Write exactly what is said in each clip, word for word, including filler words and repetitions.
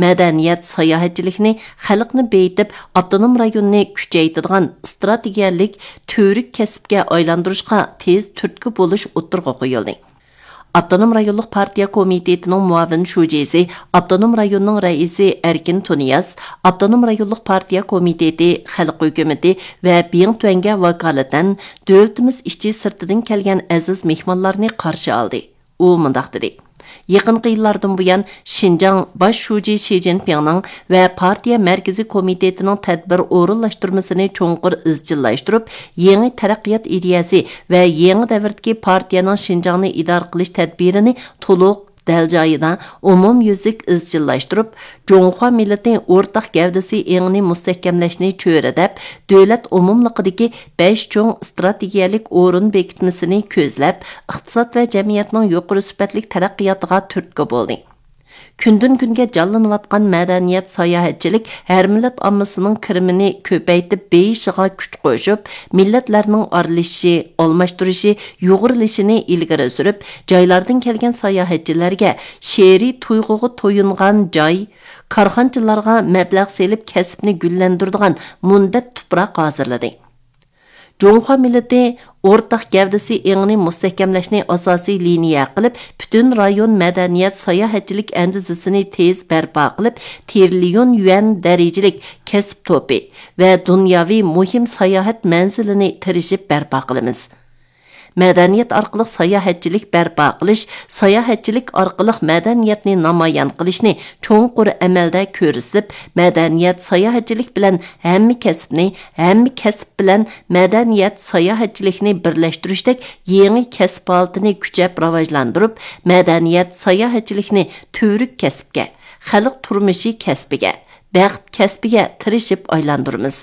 مەدەنىيەت، ساياھەتچىلىكنى خەلقنى بېيىتىپ، ئاپتونوم رايوننى كۈچەيتىدىغان ئىستراتېگىيەلىك تۈۋرۈك كەسىپكە ئايلاندۇرۇشقا تېز تۈرتكە بولۇش ئوتتۇرىغا قويۇلدى. ئاپتونوم رايونلۇق پارتىيە كومىتېتىنىڭ مۇئاۋىن شۇجىسى، ئاپتونوم رايوننىڭ رەئىسى ئەركىن تۇنىياز، ئاپتونوم رايونلۇق پارتىيە كومىتېتى، خەلق ھۆكۈمىتى ۋە بىڭتۈەنگە ۋاكالىتەن دۆلىتىمىز ئىچى سىرتىدىن كەلگەن ئەزىز مېھمانلارنى قارشى ئالدى. ئۇ مۇنداق دېدى: يېقىنقى يىللاردىن بۇيان، شىنجاڭ باش شۇجى شى جىنپىڭنىڭ ۋە پارتىيە مەركىزىي كومىتېتىنىڭ تەدبىر ئورۇنلاشتۇرمىسىنى چوڭقۇر ئىزچىللاشتۇرۇپ، يېڭى تەرەققىيات ئىدىيەسى ۋە يېڭى دەۋردىكى پارتىيەنىڭ شىنجاڭنى ئىدارە قىلىش تەدبىرىنى تولۇق، دەل جايىدا، ئومۇميۈزلۈك ئىزچىللاشتۇرۇپ، جۇڭخۇا مىللىتى ئورتاق گەۋدىسى ئېڭىنى مۇستەھكەملەشنى چۆرىدەپ، دۆلەت ئومۇملۇقىدىكى بەش چوڭ ئىستراتېگىيەلىك ئورۇن بېكىتمىسىنى كۆزلەپ، ئىقتىساد ۋە جەمئىيەتنىڭ يۇقىرى سۈپەتلىك تەرەققىياتىغا تۈرتكە بولدى. كۈندىن-كۈنگە جانلىنىۋاتقان مەدەنىيەت، ساياھەتچىلىك ھەر مىللەت ئاممىسىنىڭ كىرىمىنى كۆپەيتىپ بېيىشىغا كۈچ قوشۇپ، مىللەتلەرنىڭ ئارىلىشىشى، ئالماشتۇرۇشى، يۇغۇرۇلۇشىنى ئىلگىرى سۈرۈپ، جايلاردىن كەلگەن ساياھەتچىلەرگە شېئىرىي تۇيغۇغا تويۇنغان جاي، كارخانىچىلارغا مەبلەغ سېلىپ كەسىپنى گۈللەندۈرىدىغان مۇنبەت تۇپراق ھازىرلىدى. جۇڭخۇا مىللىتى ئورتاق گەۋدىسى ئېڭىنى مۇستەھكەملەشنى ئاساسىي لىنىيە قىلىپ، پۈتۈن رايون مەدەنىيەت، ساياھەتچىلىك ئەندىزىسىنى تېز بەرپا قىلىپ، تىرىليون يۈەن دەرىجىلىك كەسىپ توپى ۋە دۇنياۋى مۇھىم ساياھەت مەنزىلىنى تىرىشىپ بەرپا قىلىمىز. مەدەنىيەت ئارقىلىق ساياھەتچىلىك بەرپا قىلىش، ساياھەتچىلىك ئارقىلىق مەدەنىيەتنى نامايان قىلىشنى چوڭقۇر ئەمەلدە كۆرسىتىپ، مەدەنىيەت، ساياھەتچىلىك بىلەن ھەممە كەسىپنى، ھەممە كەسىپ بىلەن مەدەنىيەت، ساياھەتچىلىكنى بىرلەشتۈرۈشتەك يېڭى كەسىپ ھالىتىنى كۈچەپ راۋاجلاندۇرۇپ، مەدەنىيەت، ساياھەتچىلىكنى تۈۋرۈك كەسىپكە، خەلق تۇرمۇشى كەسپىگە، بەخت كەسپىگە تىرىشىپ ئايلاندۇرىمىز.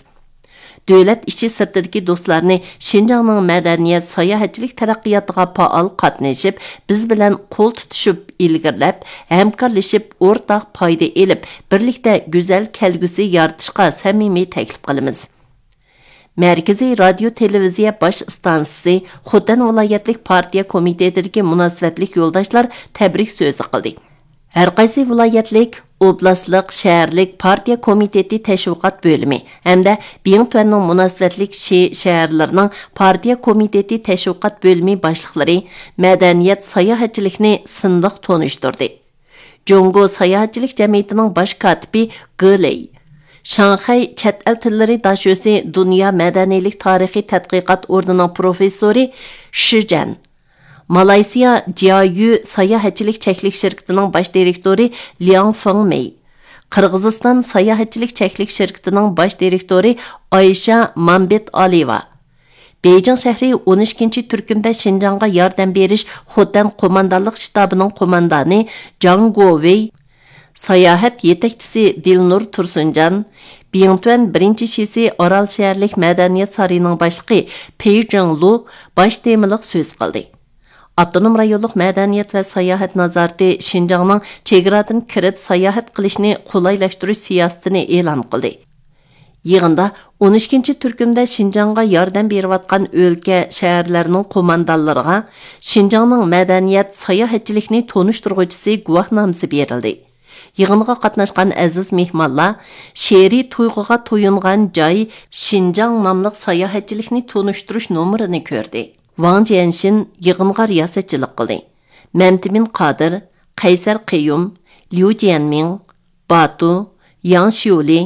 دۆلەت ئىچى سىرتىدىكى دوستلارنى شىنجاڭنىڭ مەدەنىيەت، ساياھەتچىلىك تەرەققىياتىغا پائال قاتنىشىپ، بىز بىلەن قول تۇتۇشۇپ ئىلگىرىلەپ، ھەمكارلىشىپ، ئورتاق پايدا ئېلىپ، بىرلىكتە گۈزەل كەلگۈسى يارىتىشقا سەمىمىي تەكلىپ قىلىمىز. مەركىزىي رادىيو تېلېۋىزىيە باش ئىستانسىسى خوتەن ۋىلايەتلىك پارتىيە كومىتېتىدىكى مۇناسىۋەتلىك يولداشلار تەبرىك سۆزى قىلدى. ھەرقايسى ۋىلايەتلىك، ئوبلاستلىق، شەھەرلىك پارتىيە كومىتېتى تەشۋىقات بۆلۈمى ھەمدە بىڭتۈەننىڭ مۇناسىۋەتلىك شى شەھەرلىرىنىڭ پارتىيە كومىتېتى تەشۋىقات بۆلۈمى باشلىقلىرى، مەدەنىيەت، ساياھەتچىلىكنى سىنلىق تونۇشتۇردى. جۇڭگو ساياھەتچىلىك جەمئىيىتىنىڭ باش كاتىپى گې لېي، شاڭخەي چەت ئەل تىللىرى داشۆسى دۇنيا مەدەنىيلىك تارىخىي تەتقىقات ئورنىنىڭ پروفېسسورى شى جەن، مالايسىيا جيايۈ ساياھەتچىلىك چەكلىك شىركىتىنىڭ باش دىرېكتورى لياڭ فېڭ مېي، قىرغىزىستان ساياھەتچىلىك چەكلىك شىركىتىنىڭ باش دىرېكتورى ئايشا مامبېت ئالىيېۋا، بېيجىڭ شەھىرى ئون ئىككىنچى تۈركۈمدە شىنجاڭغا ياردەم بېرىش خوتەن قوماندانلىق شتابىنىڭ قوماندانى جاڭ گوۋېي، ساياھەت يېتەكچىسى دىلنۇر تۇرسۇنجان، بىڭتۈەن بىرىنچى شىسى ئارال شەھەرلىك مەدەنىيەت سارىيىنىڭ باشلىقى پېي جىڭلۇ باش تېمىلىق سۆز قىلدى. ئاپتونوم رايونلۇق مەدەنىيەت ۋە ساياھەت نازارىتى شىنجاڭنىڭ چېگرادىن كىرىپ ساياھەت قىلىشنى قولايلاشتۇرۇش سىياسىتىنى ئېلان قىلدى. يىغىندا ئون ئىككىنچى تۈركۈمدە شىنجاڭغا ياردەم بېرىۋاتقان ئۆلكە، شەھەرلەرنىڭ قوماندانلىرىغا شىنجاڭنىڭ مەدەنىيەت، ساياھەتچىلىكنى تونۇشتۇرغۇچىسى گۇۋاھنامىسى بېرىلدى. يىغىنغا قاتناشقان ئەزىز مېھمانلار شېئىرىي تۇيغۇغا تويۇنغان جاي شىنجاڭ ناملىق ساياھەتچىلىكنى تونۇشتۇرۇش نومۇرىنى كۆردى. ۋاڭ جيەنشىن يىغىنغا رىياسەتچىلىك قىلدى. مەمتىمىن قادىر، قەيسەر قېيۇم، ليۇ جيەنمىڭ، باتۇ، ياڭ شيۇلى،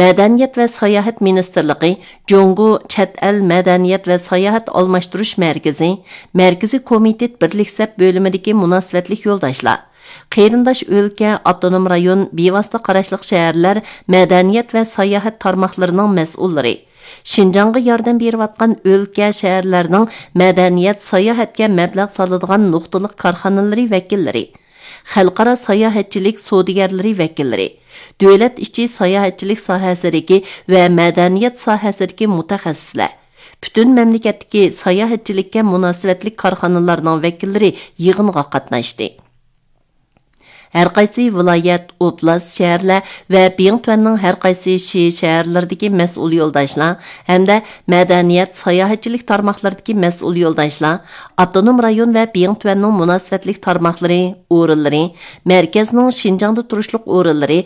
مەدەنىيەت ۋە ساياھەت مىنىستىرلىقى، جۇڭگو چەت ئەل مەدەنىيەت ۋە ساياھەت ئالماشتۇرۇش مەركىزى، مەركىزىي كومىتېت بىرلىك سەپ بۆلۈمىدىكى مۇناسىۋەتلىك يولداشلار، قېرىنداش ئۆلكە، ئاپتونوم رايون، بىۋاسىتە قاراشلىق شەھەرلەر مەدەنىيەت ۋە ساياھەت تارماقلىرىنىڭ مەسئۇللىرى، شىنجاڭغا ياردەم بېرىۋاتقان ئۆلكە، شەھەرلەرنىڭ مەدەنىيەت، ساياھەتكە مەبلەغ سالىدىغان نۇقتىلىق كارخانىلىرى ۋەكىللىرى، خەلقئارا ساياھەتچىلىك سودىگەرلىرى ۋەكىللىرى، دۆلەت ئىچى ساياھەتچىلىك ساھەسىدىكى ۋە مەدەنىيەت ساھەسىدىكى مۇتەخەسسىسلەر، پۈتۈن مەملىكەتتىكى ساياھەتچىلىككە مۇناسىۋەتلىك كارخانىلارنىڭ ۋەكىللىرى يىغىنغا قاتناشتى. ھەرقايسى ۋىلايەت، ئوبلاست، شەھەرلەر ۋە بىڭتۈەننىڭ ھەرقايسى شى شەھەرلىرىدىكى مەسئۇل يولداشلار ھەمدە مەدەنىيەت، ساياھەتچىلىك تارماقلىرىدىكى مەسئۇل يولداشلار، ئاپتونوم رايون ۋە بىڭتۈەننىڭ مۇناسىۋەتلىك تارماقلىرى، ئورۇنلىرى، مەركەزنىڭ شىنجاڭدا تۇرۇشلۇق ئورۇنلىرى،